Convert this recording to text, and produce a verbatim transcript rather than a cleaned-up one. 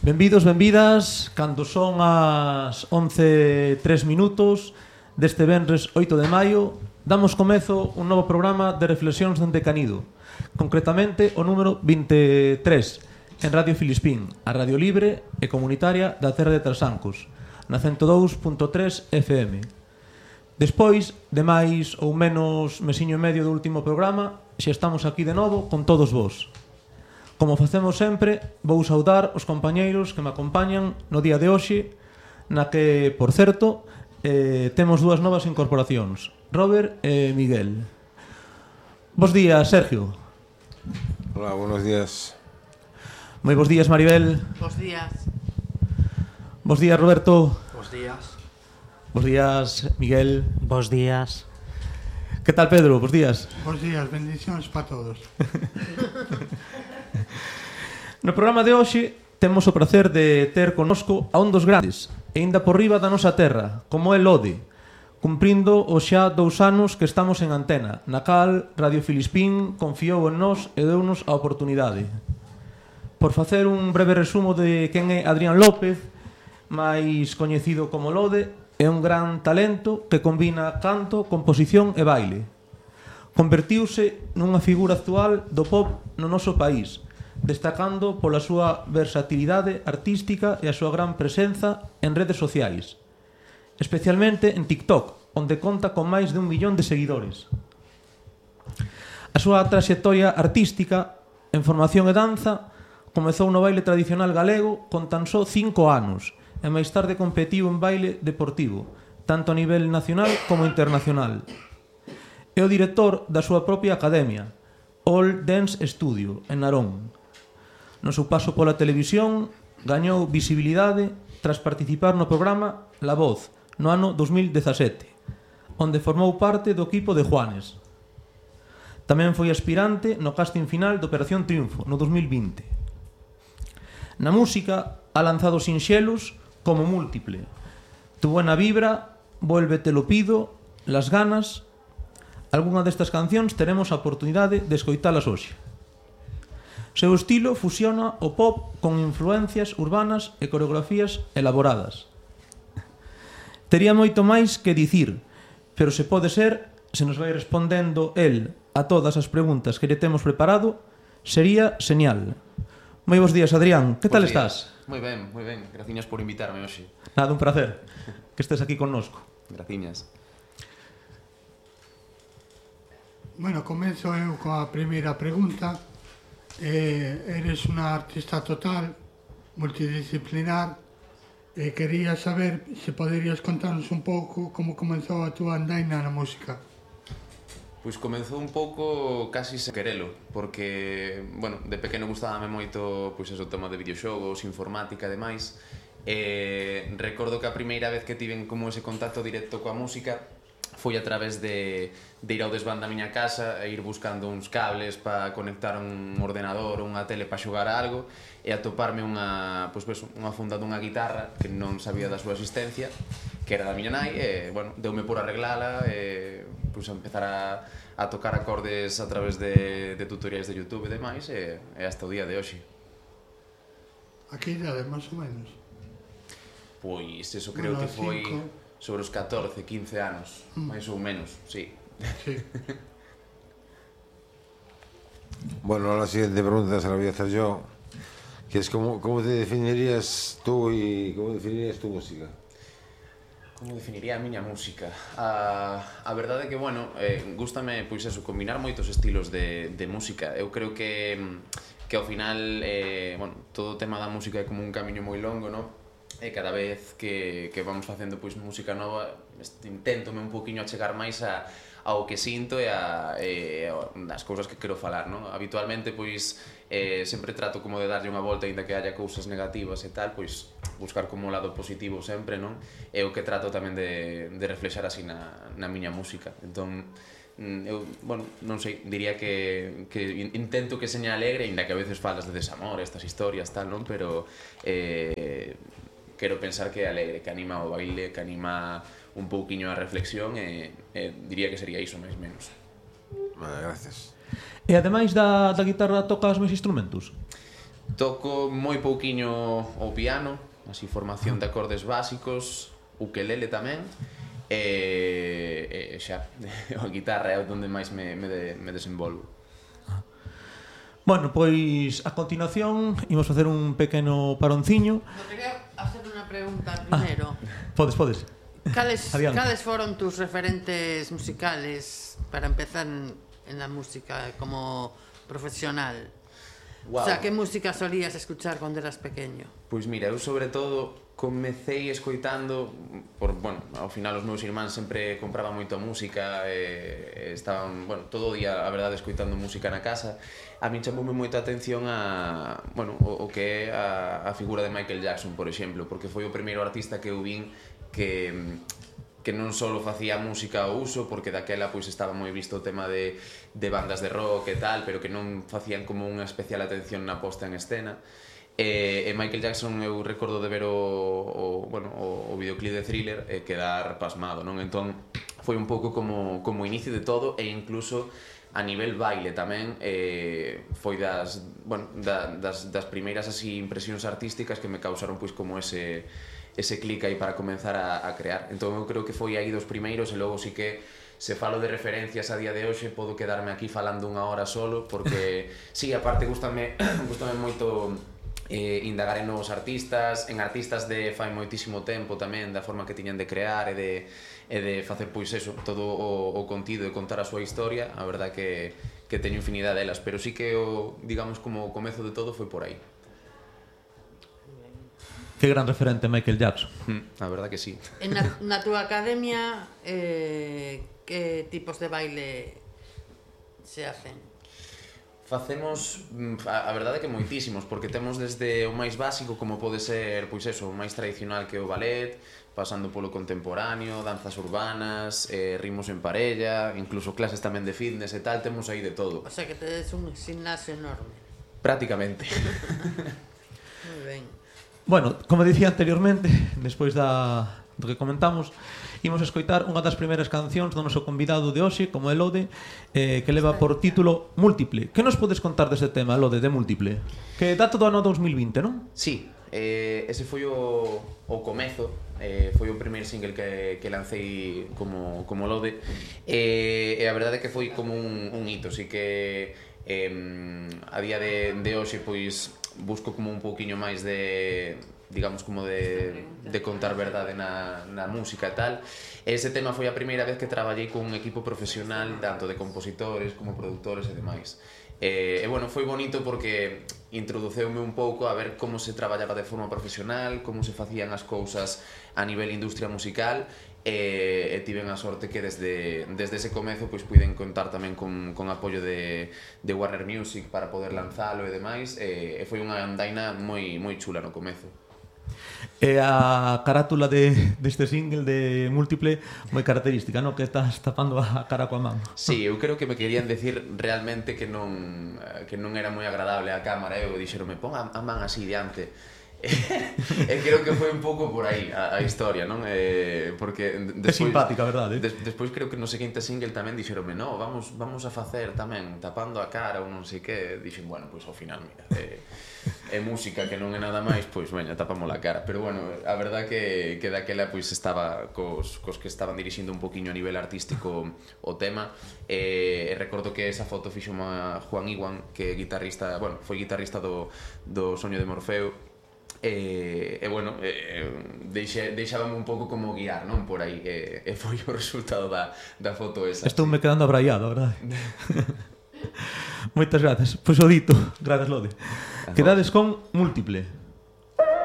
Benvidos, benvidas, cando son as once e tres minutos deste venres oito de maio, damos comezo un novo programa de reflexións dende Canido, concretamente o número vinte e tres, en Radio Filispín, a radio libre e comunitaria da Terra de Trasancos, na cento dous punto tres F M. Despois de máis ou menos mesiño e medio do último programa, xa estamos aquí de novo con todos vós. Como facemos sempre, vou saudar os compañeiros que me acompañan no día de hoxe, na que, por certo, eh, temos dúas novas incorporacións, Robert e Miguel. Bos días, Sergio. Hola, buenos días. Moi bos días, Maribel. Bos días. Bos días, Roberto. Bos días. Bos días, Miguel. Bos días. Que tal, Pedro? Bos días. Bos días, bendicións para todos. No programa de hoxe temos o prazer de ter connosco a un dos grandes, e ainda por riba da nosa terra, como é Lode, cumprindo os xa dous anos que estamos en antena, na cal Radio Filispín confiou en nós e deunos a oportunidade. Por facer un breve resumo de quen é Adrián López, máis coñecido como Lode, é un gran talento que combina canto, composición e baile. Convertiuse nunha figura actual do pop no noso país, destacando pola súa versatilidade artística e a súa gran presenza en redes sociais, especialmente en TikTok, onde conta con máis de un millón de seguidores. A súa traxectoria artística en formación e danza comezou no baile tradicional galego con tan só cinco anos e máis tarde competiu en baile deportivo, tanto a nivel nacional como internacional. É o director da súa propia academia, All Dance Studio, en Narón. No seu paso pola televisión, gañou visibilidade tras participar no programa La Voz, no ano dos mil dezasete, onde formou parte do equipo de Juanes. Tamén foi aspirante no casting final de Operación Triunfo, no dos mil vinte. Na música, ha lanzado sinxelos como Múltiple, Tu buena vibra, Vuélvete lo pido, Las ganas. Algunha destas cancións teremos a oportunidade de escoitalas hoxe. Seu estilo fusiona o pop con influencias urbanas e coreografías elaboradas. Tería moito máis que dicir, pero se pode ser, se nos vai respondendo el a todas as preguntas que lle temos preparado, sería señal. Moi bons días, Adrián. Que tal estás? Moi ben, moi ben. Graciñas por invitarme hoxe. Nada, un placer que estés aquí connosco. Graciñas. Bueno, comenzo eu coa primeira pregunta. Eh, eres unha artista total, multidisciplinar, e quería saber se poderías contarnos un pouco como comenzou a túa andaina na música. Pois comezou un pouco casi sen querelo, porque, bueno, de pequeno gustábame moito pois eso, o tema de videoxogos, informática e demais. E recordo que a primeira vez que tiven como ese contacto directo coa música foi a través de, de ir ao desván da miña casa e ir buscando uns cables para conectar un ordenador ou unha tele para xogar a algo e atoparme unha, pois, pues, unha funda dunha guitarra que non sabía da súa existencia, que era da miña nai, e, bueno, deume por arreglala e pois, a empezar a, a tocar acordes a través de, de tutoriais de YouTube e demais e, e hasta o día de hoxe. A que idade, máis ou menos? Pois eso creo bueno, que foi cinco... sobre os catorce, quince anos, mm. máis ou menos, sí. Sí. Bueno, la siguiente pregunta se la voy a hacer yo, que es cómo, cómo te definirías tú y cómo definirías tu música. Como definiría a miña música? A, a verdade é que, bueno, eh, gústame, pois eso, combinar moitos estilos de, de música. Eu creo que, que ao final, eh, bueno, todo o tema da música é como un camiño moi longo, non? E cada vez que, que vamos facendo pois música nova inténtome un poquinho achegar máis a, ao que sinto e a, e as cousas que quero falar, non? Habitualmente pois eh, sempre trato como de darlle unha volta ainda que haya cousas negativas e tal, pois buscar como o lado positivo sempre, non? É o que trato tamén de, de reflexar así na, na miña música. Entón, eu, bueno, non sei, diría que, que intento que seña alegre, ainda que a veces falas de desamor, estas historias, tal, non? Pero eh, quero pensar que é alegre, que anima o baile, que anima un pouquiño a reflexión e, e diría que sería iso máis menos. Vale, gracias. E ademais da, da guitarra tocas máis instrumentos? Toco moi pouquiño o piano, así formación de acordes básicos, ukelele tamén, e, e xa, a guitarra é onde máis me, me, de, me desenvolvo. Bueno, pois a continuación imos facer un pequeno paronciño. No, quería hacer unha pregunta primeiro. Ah, podes, podes. Cales, Adiante. cales foron tus referentes musicales para empezar en, en la música como profesional? Wow. O sea, que música solías escuchar cuando eras pequeño? Pois mira, eu sobre todo comecei escoitando por, bueno, ao final os meus irmáns sempre compraban moita música e estaban, bueno, todo o día, a verdade, escoitando música na casa. A min chamoume moita atención a, bueno, o, o que é a, a figura de Michael Jackson, por exemplo, porque foi o primeiro artista que eu vin que que non só facía música ao uso, porque daquela pois estaba moi visto o tema de, de bandas de rock e tal, pero que non facían como unha especial atención na posta en escena. E, e Michael Jackson eu recordo de ver o, o, bueno, o, o videoclip de Thriller e quedar pasmado, non? Entón foi un pouco como, como inicio de todo, e incluso a nivel baile tamén eh, foi das, bueno, da, das, das primeiras así impresións artísticas que me causaron pois como ese ese clic aí para comenzar a, a crear. Entón eu creo que foi aí dos primeiros, e logo sí que se falo de referencias a día de hoxe podo quedarme aquí falando unha hora solo, porque sí, aparte gustame, gustame moito eh, indagar en novos artistas, en artistas de fai moitísimo tempo tamén, da forma que tiñan de crear e de, e de facer pois eso, todo o, o contido e contar a súa historia. A verdad que, que teño infinidade delas, pero sí que o, digamos, como o comezo de todo foi por aí. Que gran referente Michael Jackson. Mm, a verdad que sí. En na, na túa academia, eh, que tipos de baile se hacen? Facemos, a, a verdade que moitísimos, porque temos desde o máis básico, como pode ser, pois eso, o máis tradicional que é o ballet, pasando polo contemporáneo, danzas urbanas, eh, ritmos en parella, incluso clases tamén de fitness e tal, temos aí de todo. O sea, que tedes un gimnasio enorme. Prácticamente. Moi ben. Bueno, como dicía anteriormente, despois da, do que comentamos, imos escoitar unha das primeiras cancións do noso convidado de hoxe, como é Lode, eh, que leva por título Múltiple. Que nos podes contar deste tema, Lode, de Múltiple? Que data do ano dos mil vinte, non? Sí, eh, ese foi o, o comezo, eh, foi o primeiro single que, que lancei como, como Lode, e, e a verdade é que foi como un, un hito, así que eh, a día de, de hoxe pois busco como un pouquiño máis de, digamos, como de, de contar verdade na, na música e tal. Ese tema foi a primeira vez que traballei con un equipo profesional, tanto de compositores como productores e demais. E, e bueno, foi bonito porque introduceume un pouco a ver como se traballaba de forma profesional, como se facían as cousas a nivel industria musical, e, e tiven a sorte que desde, desde ese comezo pois puiden contar tamén con, con apoio de, de Warner Music para poder lanzalo e demais, e, e foi unha andaina moi, moi chula no comezo. E a carátula de, deste single de Múltiple moi característica, non? Que estás tapando a cara coa man. Sí, eu creo que me querían decir realmente que non, que non era moi agradable a cámara, eu dixeronme, pon a, a man así diante. E creo que foi un pouco por aí a, a historia, non? Eh, porque É despois, simpática, verdade? Des, despois creo que no seguinte single tamén dixeronme, no, vamos, vamos a facer tamén tapando a cara ou non sei que. Dixen, bueno, pois ao final, mira, é, é música que non é nada máis, pois veña, tapamos a cara. Pero bueno, a verdad que, que daquela pois estaba cos, cos que estaban dirixindo un poquinho a nivel artístico o tema, e, e recordo que esa foto fixo a Juan Iwan, que é guitarrista, bueno, foi guitarrista do, do Soño de Morfeo. E, e bueno, e, deixe, deixábame un pouco como guiar, non? Por aí, e, e foi o resultado da, da foto esa. Estou me quedando abraiado, verdade? Moitas grazas. Pois o dito, grazas, Lode. Quedades con Múltiple.